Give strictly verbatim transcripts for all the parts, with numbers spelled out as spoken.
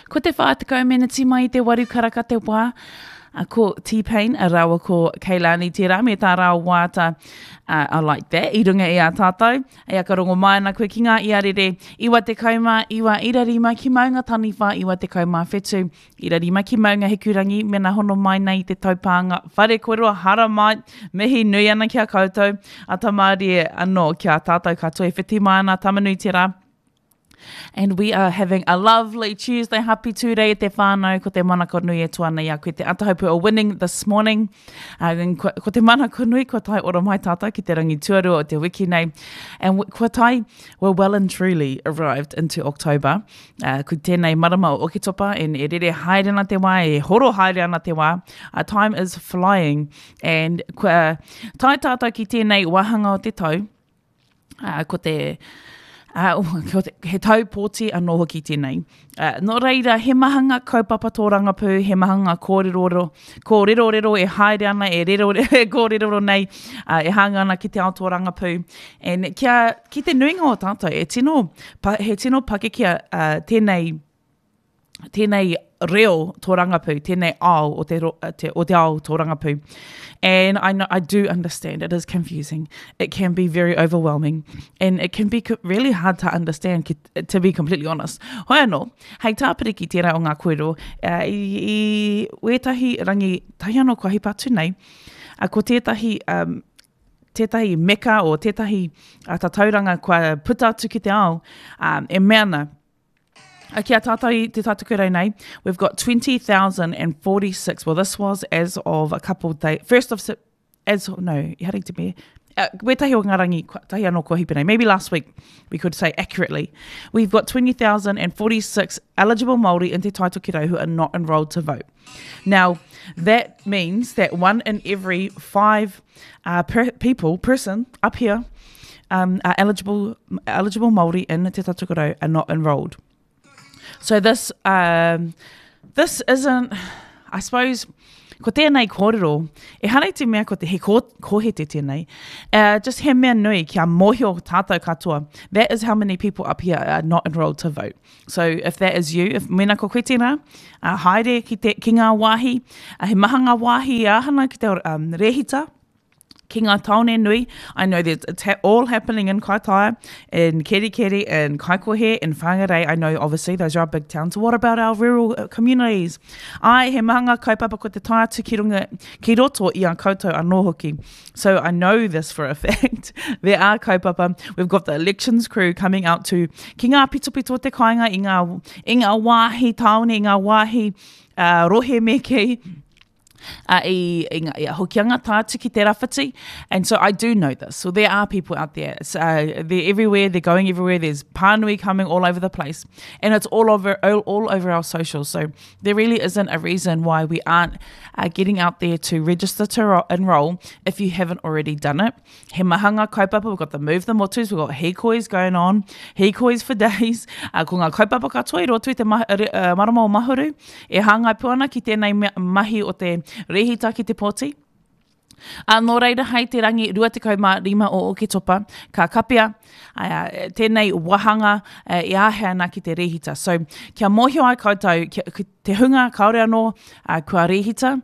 Ko te whā tekau meneti mai i te waru karaka te wā, a ko T-Pain a rāua ko Keilani tērā me tā rāua waiata uh, I like that i runga i a tātou. E aka rongo mai ana koe ki ngā iarere iwa tekau mā iwa ira rima ki Maunga Taniwha iwa tekau mā whetu ira rima ki Maunga Hikurangi mena hono mai nei i te taupānga whare kōrero haramai mihi nui ana ki a koutou a Tamārie anō ki a tātou katoa e whiti mai ana Tamanui te rā. And we are having a lovely Tuesday. Happy Tuesday te whānau. Ko te manako nui e toa ana i a koe te atahopu o winning this morning. Uh, and ko, ko te manako nui kua tae ora mai tātou ki te rangi tuarua o te wiki nei. And kua tae, we're well and truly arrived into October. Uh, ko tēnei marama o Oketopa and e rere haere ana te wā, e horo haere ana te wā. Uh, time is flying. And kua tae tātou ki tēnei wāhanga o te tau. Uh, ko te... Uh, ko te, he tau pōti anō hoki tēnei. Uh, nō reira, he maha ngā kaupapa tōrangapū, he maha ngā kōrerorero, kōrerorero e haere ana, e rero, e kōreroro nei, uh, e hāngai ana ki te ao tōrangapū. And kia, ki te nuinga o tātou, e tino, pa, he tino pakeke uh, tēnei, tēnei reo tōrangapū, tēnei ao o te, ro, te, o te ao tōrangapū. And I know, I do understand it is confusing. It can be very overwhelming and it can be really hard to understand, ki, to be completely honest. Hoi anō, hei tāpiri ki tērā o ngā kōrero, uh, i, i wētahi rangi tahi anō kua hipa atu nei, uh, ko tētahi, um, tētahi meka o tētahi uh, tatauranga kua puta atu ki te ao, um, e mea ana, Ki a tātou i te Taitokerau nei, we've got twenty thousand and forty-six. Well, this was as of a couple of days, first of, as, no, i hari te me, uh, wētahi o ngā rangi, tahi anō kua hipa nei, maybe last week, we could say accurately. We've got twenty thousand and forty-six eligible Māori in Te Taitokerau who are not enrolled to vote. Now, that means that one in every five, uh, per, people, person up here, um, are eligible, eligible Māori in Te Taitokerau are not enrolled. So this, um, this isn't, I suppose, ko tēnei kōrero, e hara i te mea ko te he ko, kohete tēnei, uh, just he mea nui kia mōhio tātou katoa. That is how many people up here are not enrolled to vote. So if that is you, if mena ko koe tēnā, uh, haere ki, te, ki ngā wāhi, uh, he maha ngā wāhi āhana ki te um, rehita, ki ngā tāone nui. I know that it's ha- all happening in Kaitaia, in Kerikeri, in Kaikohe, in Whangarei. I know, obviously, those are our big towns. What about our rural communities? Ai, he maha ngā kaupapa ko te tae atu ki runga, ki roto i a koutou anō hoki. So I know this for a fact. There are kaupapa. We've got the elections crew coming out to ki ngā pitopito o te kāinga, i ngā, i ngā wāhi tāone, i ngā wāhi, uh, rohe me kei. Uh, i, i ngā, ia, hokianga tātu ki te rawhiti. And so I do know this. So there are people out there. So, uh, they're everywhere. They're going everywhere. There's pānui coming all over the place. And it's all over, all, all over our socials. So there really isn't a reason why we aren't, uh, getting out there to register to ro-, enroll if you haven't already done it. He maha ngā kaupapa. We've got the Move the Motus. We've got hīkois going on. Hīkois for days. Uh, ko ngā kaupapa katoa i roto i te ma-, re-, uh, marama o Mahuru. E hāngai pū ana ki tēnei mea, mahi o te rehita ki te pōti. Uh, nō reira hei te rangi rua tekau mā rima o Oketopa, ka kapea, uh, tēnei wahanga, uh, e āhea ana ki te rehita. So, kia mōhio ai koutou, kia, ki te hunga kāore anō, uh, kua rehita,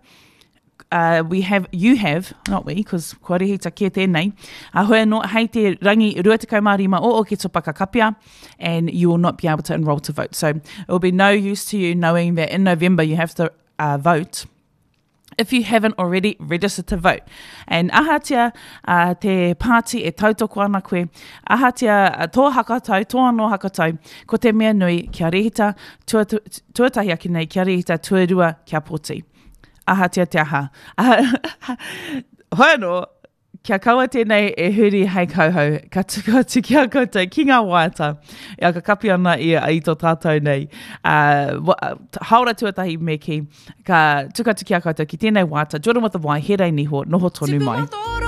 uh, we have, you have, not we, 'cause kua rehita kē tēnei, uh, hoi anō hei te rangi rua tekau mā rima o Oketopa ka kapea, and you will not be able to enroll to vote. So, it will be no use to you knowing that in November you have to, uh, vote if you haven't already registered to vote. And ahatia, uh, te pāti e tautoko ana koe, ahatia, uh, tō hakatau, tō anō hakatau, ko te mea nui kia rehita, tua, tu, tuatahi ake nei, kia rehita, tuarua, kia pōti. Ahatia te aha. Hoi anō, kia kaua tēnei e huri hei kauhau, ka tuku atu ki a koutou ki ngā waiata. Ia ka kapi ana i, i tō tātou nei. Uh, wa, haora tuatahi me ki, ka tuku atu ki a koutou ki tēnei waiata, Jordan with the Y, he rei niho, noho tonu mai. Tipu